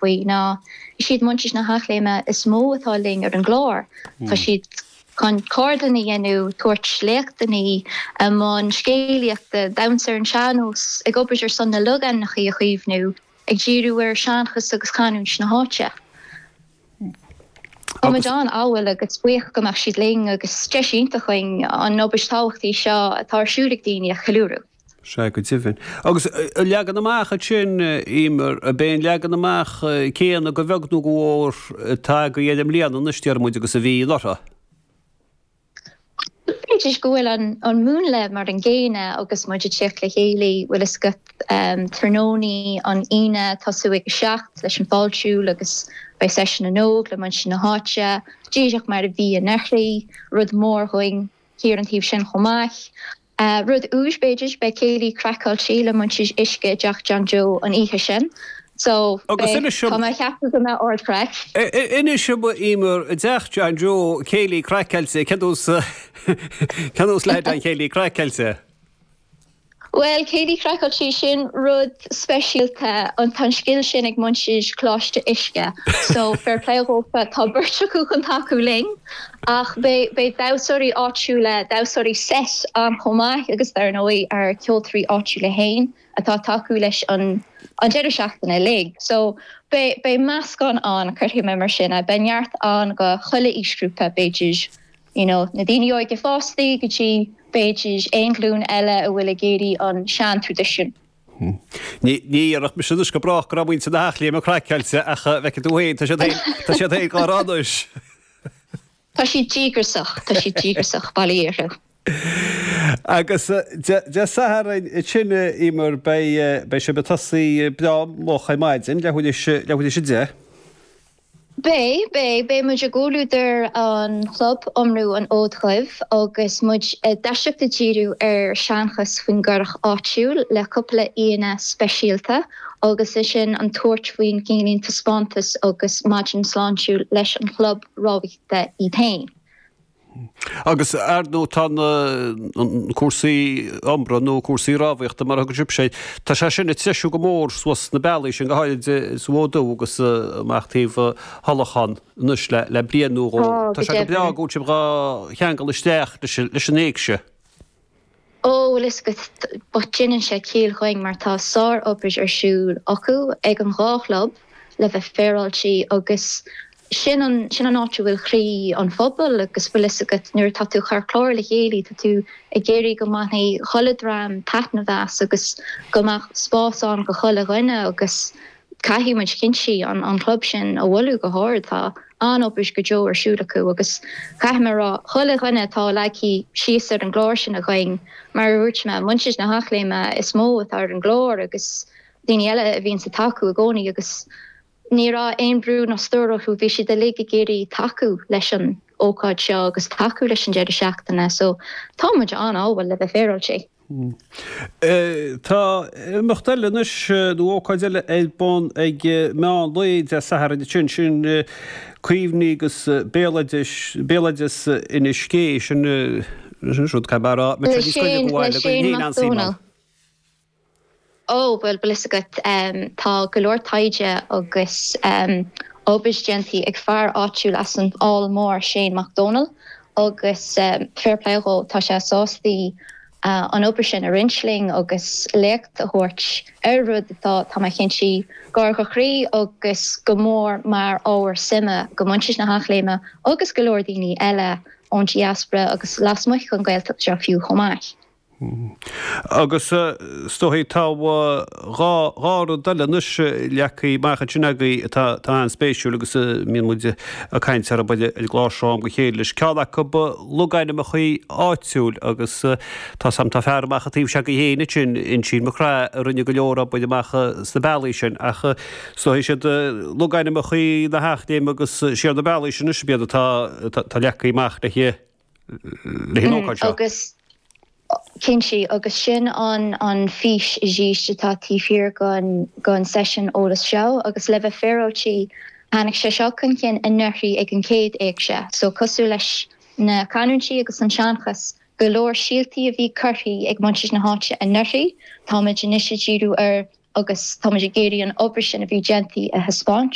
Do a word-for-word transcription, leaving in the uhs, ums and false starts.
faoi ná is iad muintir na hEachléime is mó atá linn ar an gclár. Tá siad chun ceardlanna a dhéanamh, tabhairt léachtanna, i mbun scéalaíochta, damhsa ar an sean-nós, ag obair ar son na logainmneacha a chaomhnú, ag díriú ar seanchas agus canúint na háite. Tá muid an-ádhúil agus buíoch go mbeadh siad linn agus deis iontach againn an obair tábhachtach seo atá ar siúl ag daoine a cheiliúradh. Sea, go deimhin. Agus leagan amach ansin, Emer, ab é an leagan amach céanna go bheag nó go mhór atá agaibh air i mbliana anois, déarfaidh muid, agus a bhí anuraidh? B'fhéidir go bhfuil an múnla mar an gcéanna agus muid ag teacht le chéile, bhfuil fhios agat, tráthnóna an Aoine tosú ag a seacht leis an fáiltiú agus beidh seisiún na n-óg le muintir na háite, díreach mar a bhí anuraidh, rud mór dhúinn thiar an taobh sin chomh maith. Rud úr b'fhéidir, beidh céilí craiceáilte le muintir Uisce i dTeach John Joe an oíche sin. So, Agus inis tá mé ag ceapadh go mbeidh ardchraic. Inis dom, Emer, i dTeach John Joe, céilí craiceáilte, cén nós, cén nós leithéid an chéilí craiceáilte? Bhuel, céilí craiceáilte, sin rud speisialta, an tá an scil sin ag muintir Choláiste Uisce. So, fair play dhófa, tá beirt acu chun tacú linn. Ach beidh, beidh damhsóirí áitiúla, damhsóirí seit ann chomh maith agus dar ndóigh ár ceoltóirí áitiúla fhéin. atá ag tacú leis an an deireadh seachtaine uilig. So beidh beidh meascán ann, cuirfidh mé mar sin é, beidh neart ann go chuile aoisghrúpa, b'fhéidir you know na daoine óige fostaí go dtí b'fhéidir aon ghlúin eile a bhfuil ag iarraidh an sean-traidisiún. Ní ní dhéarfadh mise anois go brách go raibh muintir na hEachléime craiceáilte ach bhfeicfidh tú féin, tá siad féin tá siad féin dhá rá anois. Tá siad díograiseach, tá siad díograiseach, bail ó Dhia orthu. Agus Dé Sathairn sin, Emer, beidh beidh sibh ag tosaí breá moch ar maidin, leathuair théis leathuair théis a deich. Beidh, beidh, beidh muid i gcomhluadar an chlub Iomrú an Fhóid Dhuibh agus muid i dtoiseacht ag díriú ar seanchas faoin gcurach áitiúil le cúpla aíonna speisialta agus ansin an tabhairt faoin gcineál taispeántas agus maidin sláintiúil leis an chlub rámhaíochta iad féin. Agus ar ndóigh tá na cúrsaí iomraithe nó cúrsaí rámhaíochta mar a thugann sibhse air, tá sé sin ag treisiú go mór suas na bealaí sin, go háirid sa bhFód Dubh agus amach taobh Thulachán anois le bliain nó dhó. Tá, Tá go sé go breá deimhin. go bhfuil sibh dhá cheangal isteach leis an éigse. Ó, bhfuil fhios agat, but déanann sé ciall dhuinn mar tá sár-obair ar siúl acu ag an dhá chlub le bheith féaráilte agus sin an, sin an áit a bhfuil croí an phobail agus bhfuil fhios agat nuair atá tú ag cur clár le chéile tá tú ag iarraidh go mbainfidh chuile dream taitneamh as agus go mbeadh spás ann go chuile dhuine agus caithfidh muid cinnte an an club sin a mholadh go hard. Tá an-obair go deo ar siúl acu agus caithfidh mé a rá chuile dhuine atá leagtha síos ar an gclár sin againn, mar a dúirt mé, muintir na hEachléime is mó atá ar an gclár agus daoine eile a bhíonns ag tacú i gcónaí agus ní raibh aon brú ná stró orthu, bhí siad uilig ag iarraidh tacú leis an ócáid seo agus tacú leis an deireadh seachtaine so tá muid an-ádhúil le bheith féaráilte. Tá imeacht eile anois, nó ócáid eile ar bun ag meán lae Dé Sathairn ansin, sin Cuimhní agus Béaloideas, Béaloideas Inis Gé, sin rud caithfidh mé a rá, Le Shane, le Shane Mac Dónaill. Ó, bhuel, bhfuil fhios agat, tá go leor taighde agus obair déanta ag fear áitiúil as an Fhál Mór, Shane Mac Dónaill, agus fair play dhó, tá sé sásta an obair sin a roinnt linn agus léacht a thabhairt ar rud atá, tá mé cinnte, gar dho chroí agus go mór mar ábhar suime go muintir na hEachléime agus go leor daoine eile ón diaspora agus lasmuigh den Ghaeltacht seo fiú chomh maith. Agus is dóigh tá dhá dhá rud eile anois leagtha amach ansin agaibh atá atá an-spéisiúil agus a mbíonn muid ag caint orthu ar an gclár seo am go chéile leis. Ceann acu logainmneacha áitiúil agus tá 's a'm tá fear amach an taobh seo agaibh féin ansin, Uinsíonn Mac Craith a rinne go leor obair amach sna bealaí sin ach is dóigh siad logainmneacha na hEachléime agus siar na bealaí sin anois ab iad atá atá leagtha amach le le an ócáid seo. Agus cinnte, agus sin an an fís arís atá taobh thiar den den seisiún eolais seo agus le bheith féaráilte tháinig sé seo chun cinn anuraidh ag an chéad éigse so cosúil leis na canúintí agus an seanchas go leor síoltaí a bhí curtha ag muintir na háite anuraidh táimid anois ag díriú ar Agus táimid ag iarraidh an obair sin a bhí déanta a thaispeáint.